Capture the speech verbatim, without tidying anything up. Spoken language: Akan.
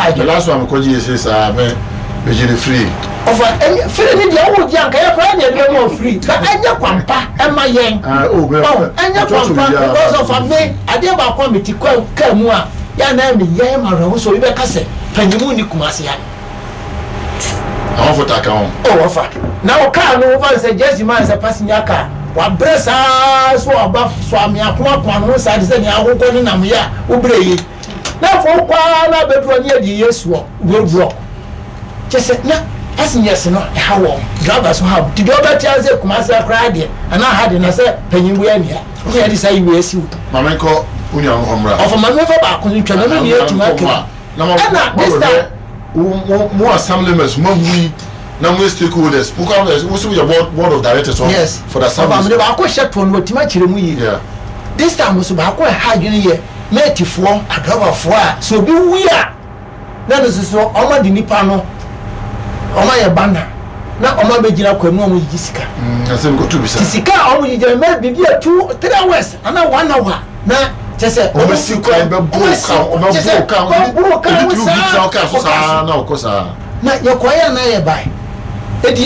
Ha The adwene. last one mekɔgye yɛ sɛ saa me megye ne free. Ɔfa ɛnyɛ free ni deɛ, ɔwɔ gye anka yɛ koraa deɛ ɛde bɛ free na ɛnyɛ kwampa ɛma yɛn. Ah, oh, bɛ- Ɔn ɛnyɛ bɛ- kwampa bɛ- because ɔfa me adeɛ baako a meti kɔ kaa mu a yɛn anan mi yɛn ma rɛ so obi bɛka sɛ panyimu ni Kumase ha. Ahɔfo ta ka ho. Ɔ wɔfa na o kaa no, wofa sɛ jɛsi man sɛ passenger car wabrɛ saa so ɔba so ame akomakoma no ho saa de sɛ nea akokɔ ne nam yɛ a wobrɛ yi na afɔ wokɔa na abɛduru ne yɛde yɛ suɔ road block kyɛ sɛ na passengers no ɛha wɔn, drivers no ha wɔn, ti deɛ ɔbɛte ase Kumase koraa deɛ anaa ha de na sɛ panyin bu ania ne yɛde saa yi wei asi wo. Maame, nkɔ wo nua no hɔ mmra. Ɔfɔ maame, fa baako no ntwa na no ne yɛtumi akɛ. Na mo Ɛna this time mo mo assembly members mo ahu yi na mo yɛ stakeholders, mo kɔ mo sɛ mo yɛ board board of directors hɔ Yes. for the Ɔfa assembly. mede baako hyɛ toɔ no, wɔtumi akyerɛ mu yie. Yeah this time nso baako a ɛha adwene yɛ mɛɛtifoɔ adrɔbafoɔ a sɛ obi wu a na no soso ɔma de nipa no ɔma yɛ banner na ɔma bɛgyina kwan mu na ɔmo gyigyi sika. Mm, asɛm kɔtu bisa. Ti sika a ɔmo gyigyi mɛ biribi a two three hours ana one hour na kyɛ sɛ ɔmo si kwan bɛ boro kan, ɔmo boro kan. Ɔmo boro kan obi tumi saa bi tena ɔka so saa na ɔkɔ saa. Na yɛkɔyɛ na yɛ bae.